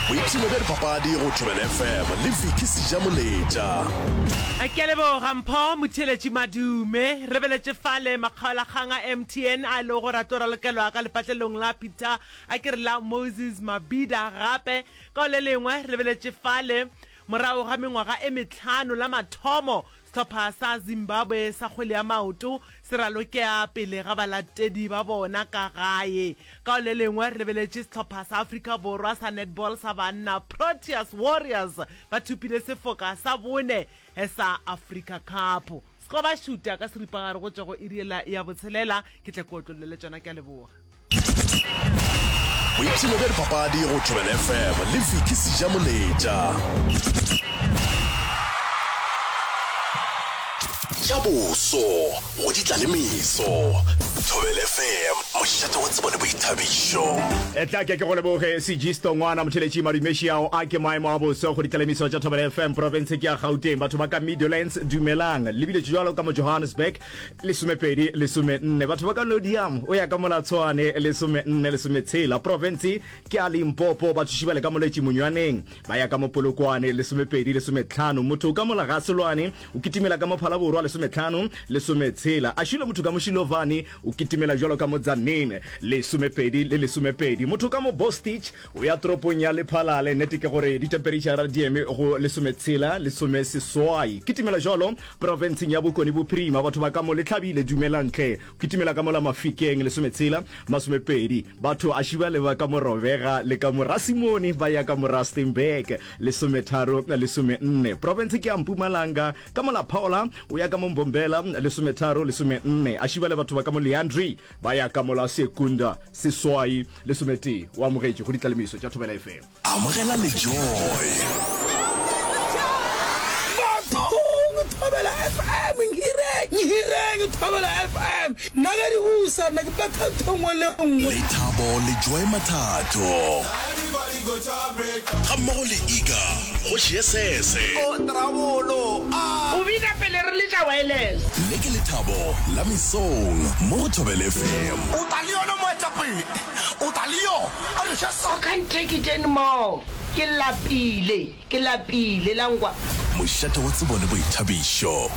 Boipshino bja dipapadi go Thobela FM le Vicky Sejamoletša. Ke a leboga Mpho Motheeletši Madume. Re beletše fale makgaolakgang a MTN a e lego gore a tlo ralokelwa ka lepatlelong la Peter a ke re la Moses Mabhida gape. Ka go le lengwe re lebeletše fale morago ga mengwaga e mehlano la mathomo Sehlopha sa Zimbabwe sa kgwele ya maoto se ralokea pele ga balatedi ba bona ka gae. Ka go le lengwe re lebeletše sehlopha sa Afrika Borwa sa netball sa banna, Proteas Warriors, ba thopile sefoka sa bone sa Africa Cup. Sekoba šuta ka seripagare go tšwa go iri yela ya botshelela. Ke tle ke otlollele tšona. Ke a leboga. Boipshino bja dipapadi go Thobela FM le Vicky Sejamoletša. Tša boso go di tla le meso. Thobela FM, mošate wa tsebo le boithabišo. Etla ke ke go leboge Sejisto ngwana motheletši madumeši ao a ke maemo a boso go ditlalemiso tša Thobela FM profense ke ya Gauteng batho ba ka Meadowlands dumelang le biletše jwalo ka mo Johannesburg 12, 14. Batho ba ka Nodiam o ya ka mola Tshwane, 14, 16. Profense ke ya Limpopo, bathuši ba le ka Moletši Monywaneng ba ya ka mo Polokwane, 12, 15. Motho ka mola ga Selwane o kitimela ka mo Phalaborwa, 15, 16. Ašilo motho ka mo Shilovani o kitimela bjalo ka mo Tzaneen, 12 le 12. Motho ka mo Bostich O ya toropong ya Lephalale, nnete ke gore ditempereitšhara di eme go lesometshela, lesomeseswai. Kitimela jwalo profenseng ya Bokone Bophirima, batho ba ka mo Lehlabile, dumelang hle. Kitimela ka mola Mafikeng, lesometshela, masomepedi. Batho a šiba le ba ka mo Robega le ka mo Rasimone ba ya ka mo Rustenburg, lesometharo, lesomenne. Profense ke ya Mpumalanga, ka mola Phola o ya ka mo Mbombela, lesometharo, lesomenne. A šiba le batho ba ka mo Leandri ba ya ka mola Secunda, seswai, Lesometee, o amogetše go ditlalemiso tša Thobela FM. Amogela le Joy. Bathong Thobela FM nhireng nhireng Thobela FM nna ge di busa nna ke betha ntho nngwe le nngwe. Lethabo le Joy Mathatho. Ga mmogo le Iga kgoši ye sese. O bina pele re letša wireless. Le ke lethabo la mesong mo go Thobela FM. O tla le yona moetapele. O tla le yo. A re še sa. I can't take it anymore. Ke lapile, ke lapile, la nkwa. Mošate wa tsebo le boithabišo.